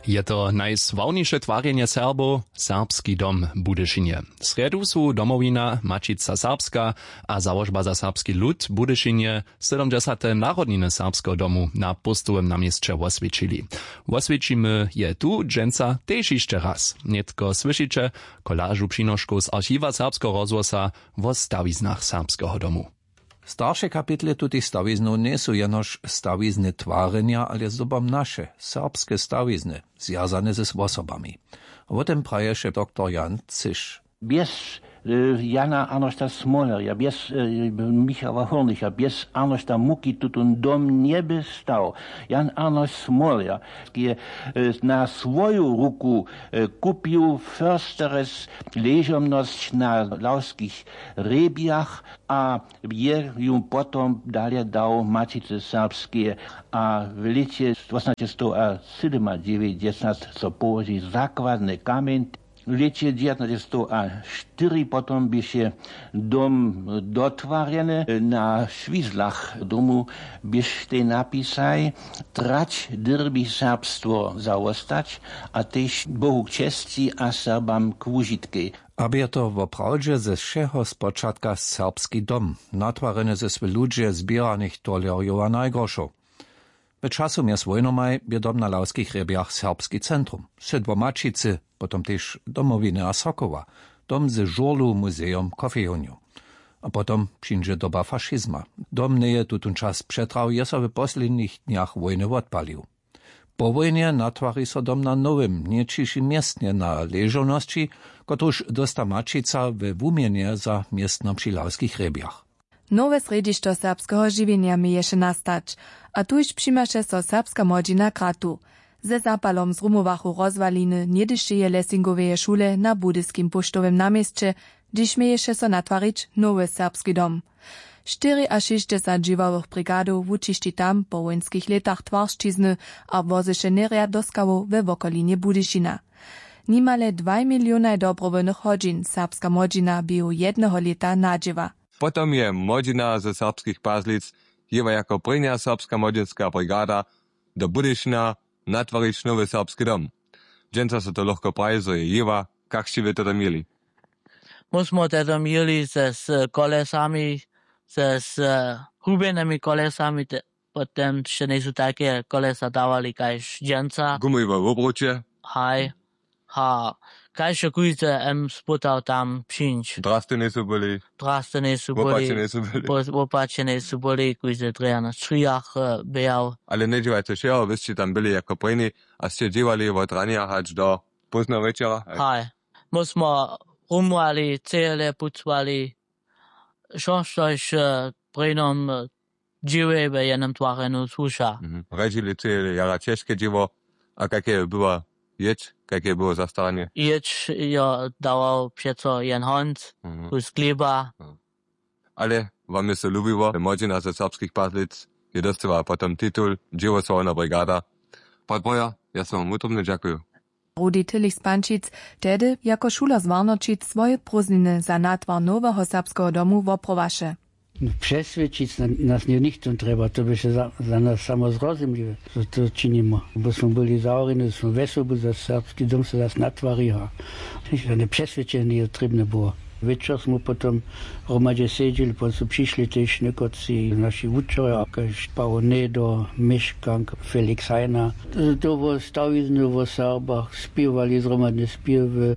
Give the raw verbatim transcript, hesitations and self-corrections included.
Je to najsławniše twarjenje Serbow, Serbski dom w Budyšinje. W srjedu su Domowina, Maćica Serbska a Załožba za serbski lud w Budyšinje sydomdźesate narodniny Serbskeho domu na Póstowym na měsće woswjećili. Woswjećimy je tu dźensa tež hišće raz. Nětko słyšiće kolažu přinoškow z archiwa Serbskeho rozhłosa wo stawiznach Serbskeho domu. Starše kapitle tutych stawiznow njejsu jenož stawizny twarjenja, ale zdobom naše, serbske stawizny, zwjazane z wosobami. Wo tym praješe doktor Jan Cyš. Bjez e, Jana Arnošta Smolerja, bjez e, Michała Hurnicha, bjez Arnošta Muki tutón dom njeby stał. Jan Arnošt Smoler je e, na swoju ruku e, kupił Försteres ležomnosć na Lawskich hrjebjach a je ju potom dale dał Maćicy Serbskeje a w lěće tśinasćsetstowasydomadźewjećdźesat so połoži zakładny kamjeń. W lěće dźewjatnaćsetstowaštyri potom běše dom dotwarjeny. Na šwizlach domu běštej napisaj: Trać dyrbi serbstwo zawostać a tež Bohu k česći a Serbam k wužitkej. Abo je to woprawdźe ze wšeho spočatka serbski dom, natwarjeny ze swy ludźe zběranych tolerjow a najgrošow? W času mjez wójnomaj bě dom na Lawskich hrjebjach serbski centrum, sydło Maćicy, potom tež Domowiny a Sokoła, dom ze žurlu, muzejom, kofejownjow. A potom přińdźe doba fašizma. Dom njeje tutón čas přetrał, je so w poslednich dnjach wójny wotpalił. Po wójnje natwari so dom na nowym, něćišim městnje na ležownosći, kotruž dósta Maćica we wuměnje za městno při Lawskich hrjebjach. Nowe srjedźišćo serbskeho žiwjenja měješe nastać, a tuž přimaše so serbska młodźina kratu. Ze zapalom zrumowachu rozwaliny něhdyšeje Lessingoweje šule na budyskim póštowym naměsće, hdźež měješe so natwarić nowy serbski dom. Štyriašěsćdźesat dźěławych brigadow wučišći tam po wójnskich lětach twaršćizny a wozyše njerjad do skałow we wokolinje Budyšina. Nimale dwaj milionaj dobrowólnych hodźin serbska młodźina běhu jedneho lěta nadźěła. Potom je młodźina ze Serbskich Pazlic jěła jako prěnja serbska młodźinska brigada do Budyšina natwarić nowy serbski dom. Dźensa so to lochko praji, zo je jěła. Kak sće wy to tam jěli? My smo te tam jěli ze z kolesami, ze z hubjenymi kolesami, te, potom sće njejsu tajke kolesa dawali kaž dźensa. Gumowe wobruće. Haj. Ha, kaž je kóždy em spytał tam přińć. Drasty njejsu byli. Drasty njejsu byli. Wopačeni su byli. Wopačeni su byli, kóždy drje na strijach běhał. Ale njedźěłajce wšeho, wy sće tam byli jako prěni a sće dźěłali wot ranja hač do pózneho wječera. Haj. My smo rumowali, cele pucowali, wšo štož prěnom dźěłej we jednym twarjenju słuša. Rjedźili cele jara ćežke dźěło. A kak je była jědź, kak je było zastaranje? Jědź jo dawał přeco jen honc, kus chlěba. Ale wam je so lubiło, młodźina ze Serbskich Pazlic je dóstała potom titul dźěłosławna brigada. Podboja, ja so wam wutrobnje dźakuju. Rudi Tillich z Pančic tehdy jako šuler z Warnoćic swoje prózdniny za natwar noweho serbskeho domu woprowaše. Přeswědčić nas nje nichtó trjeba, to běše za nas samo zrozumliwe, zo to činimy, bo smo byli zawrjeni, zo smo wjesobu za serbski dom so zas natwariła. Žane přeswědčenje njeje trěbne było. Wječor smo potom hromadźe sedźeli, potom su přišli tež někotři naši wučerjo, kaž pawo nedo, měškank, felix heiner. To wo stawizny wo serbach spěwali zhromadne spěwy.